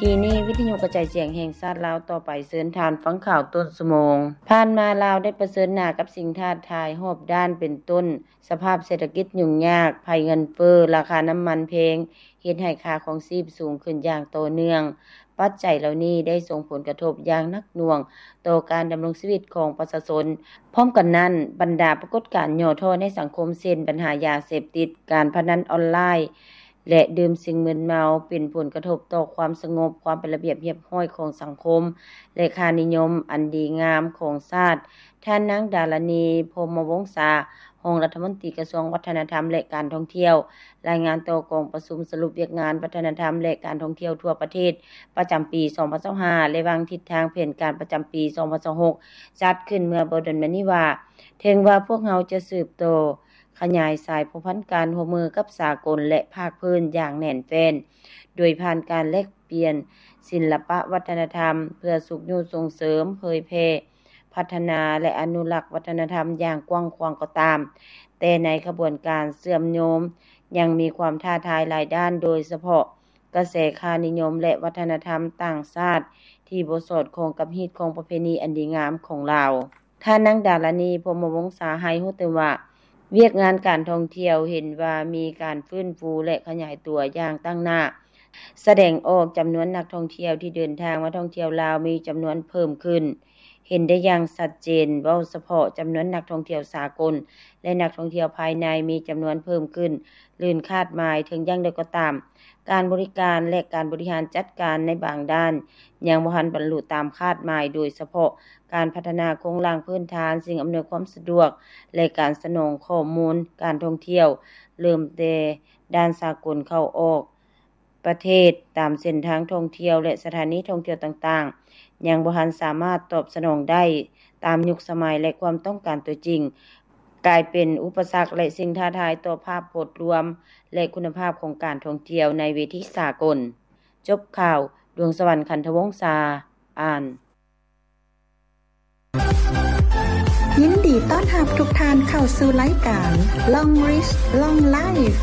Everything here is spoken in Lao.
ທີ່ນີ້ ວິທະຍຸກະຈາຍສຽງແຫ່ງຊາດລາວຕໍ່ໄປ ເຊີນທ່ານຟັງຂ່າວຕົ້ນຊົ່ວໂມງ. ຜ່ານມາລາວໄດ້ປະເຊີນໜ້າກັບສິ່ງທ້າທາຍຮອບດ້ານ ເປັນຕົ້ນ ສະພາບເສດຖະກິດຫຍຸ້ງຍາກ, ໄພເງິນເຟີ້, ລາຄານ້ຳມັນແພງ ເຮັດໃຫ້ຄ່າຄອງຊີບສູງຂຶ້ນຢ່າງຕໍ່ເນື່ອງ. ປັດໄຈເຫຼົ່ານີ້ໄດ້ສົ່ງຜົນກະທົບຢ່າງໜັກໜ່ວງຕໍ່ການດຳລົງຊີວິດຂອງປະຊາຊົນ. ພ້ອມກັນນັ້ນ, ບັນດາປາກົດການຫຍໍ້ທໍ້ໃນສັງຄົມ ເຊັ່ນ ບັນຫາຢາເສບຕິດ, ການພະນັນອອນລາຍ ແລະ ດື່ມສິ່ງມຶນເມົາ ເປັນຜົນກະທົບຕໍ່ຄວາມສະຫງົບ, ຄວາມເປັນລະບຽບຮຽບຮ້ອຍຂອງສັງຄົມ ແລະ ຄ່ານິຍົມອັນດີງາມຂອງຊາດ. ທ່ານນາງ ດາລານີ ພົມມະວົງສາ ຮອງລັດຖະມົນຕີກະຊວງວັດທະນະທຳ ແລະ ການທ່ອງທ່ຽວ ລາຍງານຕໍ່ກອງປະຊຸມສະຫຼຸບວຽກງານວັດທະນະທຳ ແລະ ການທ່ອງທ່ຽວທົ່ວປະເທດ ປະຈຳປີສອງພັນຊາວຫ້າ ແລະ ວາງທິດທາງແຜນການປະຈຳປີສອງພັນຊາວຫົກ ຈັດຂຶ້ນເມື່ອບໍ່ດົນມານີ້ວ່າ ເຖິງວ່າພວກເຮົາຈະສືບຕໍ່ຂະຫຍາຍສາຍພົວພັນການຮ່ວມມືກັບສາກົນ ແລະ ພາກພື້ນຢ່າງແໜ້ນແຟ້ນ ໂດຍຜ່ານການແລກປ່ຽນສິລະປະວັດທະນະທຳ ເພື່ອຊຸກຍູ້ສົ່ງເສີມ, ເຜີຍແຜ່, ພັດທະນາ ແລະ ອະນຸລັກວັດທະນະທຳຢ່າງກວ້າງຂວາງກໍຕາມ, ແຕ່ໃນຂະບວນການເຊື່ອມໂຍງ ຍັງມີຄວາມທ້າທາຍຫຼາຍດ້ານ, ໂດຍສະເພາະກະແສຄ່ານິຍົມ ແລະ ວັດທະນະທຳຕ່າງຊາດທີ່ບໍ່ສອດຄ່ອງກັບຮີດຄອງປະເພນີອັນດີງາມຂອງລາວ. ທ່ານນາງ ດາລານີ ພົມມະວົງສາ ໃຫ້ຮູ້ຕື່ມວ່າ ວຽກງານການທ່ອງທ່ຽວເຫັນວ່າມີການຟື້ນຟູ ແລະ ຂະຫຍາຍຕົວຢ່າງຕັ້ງໜ້າ, ສະແດງອອກຈຳນວນນັກທ່ອງທ່ຽວທີ່ເດີນທາງມາທ່ອງທ່ຽວລາວມີຈຳນວນເພີ່ມຂຶ້ນ ເຫັນໄດ້ຢ່າງຊັດເຈນ. ເວົ້າສະເພາະຈຳນວນນັກທ່ອງທ່ຽວສາກົນ ແລະ ນັກທ່ອງທ່ຽວພາຍໃນມີຈຳນວນເພີ່ມຂຶ້ນ ເກີນຄາດໝາຍ. ເຖິງຢ່າງໃດກໍຕາມ, ການບໍລິການ ແລະ ການບໍລິຫານຈັດການໃນບາງດ້ານ ຍັງບໍ່ທັນບັນລຸຕາມຄາດໝາຍ, ໂດຍສະເພາະການພັດທະນາໂຄງລ່າງພື້ນຖານ, ສິ່ງອຳນວຍຄວາມສະດວກ ແລະ ການສະໜອງຂໍ້ມູນການທ່ອງທ່ຽວ ເລີ່ມແຕ່ດ່ານສາກົນເຂົ້າອອກປະເທດ, ຕາມເສັ້ນທາງທ່ອງທ່ຽວ ແລະ ສະຖານີທ່ອງທ່ຽວຕ່າງໆ ຍັງບໍ່ທັນສາມາດຕອບສະໜອງໄດ້ຕາມຍຸກສະໄໝ ແລະ ຄວາມຕ້ອງການຕົວຈິງ, ກາຍເປັນອຸປະສັກ ແລະ ສິ່ງທ້າທາຍຕໍ່ພາບໂພດລວມ ແລະ ຄຸນນະພາບຂອງການທ່ອງທ່ຽວໃນເວທີສາກົນ. ຈົບຂ່າວ, ດວງສະຫວັນ ຂັນທະວົງສາ ອ່ານ. ຍິນດີຕ້ອນຮັບທຸກທ່ານເຂົ້າສູ່ລາຍການ Long Reach Long Life.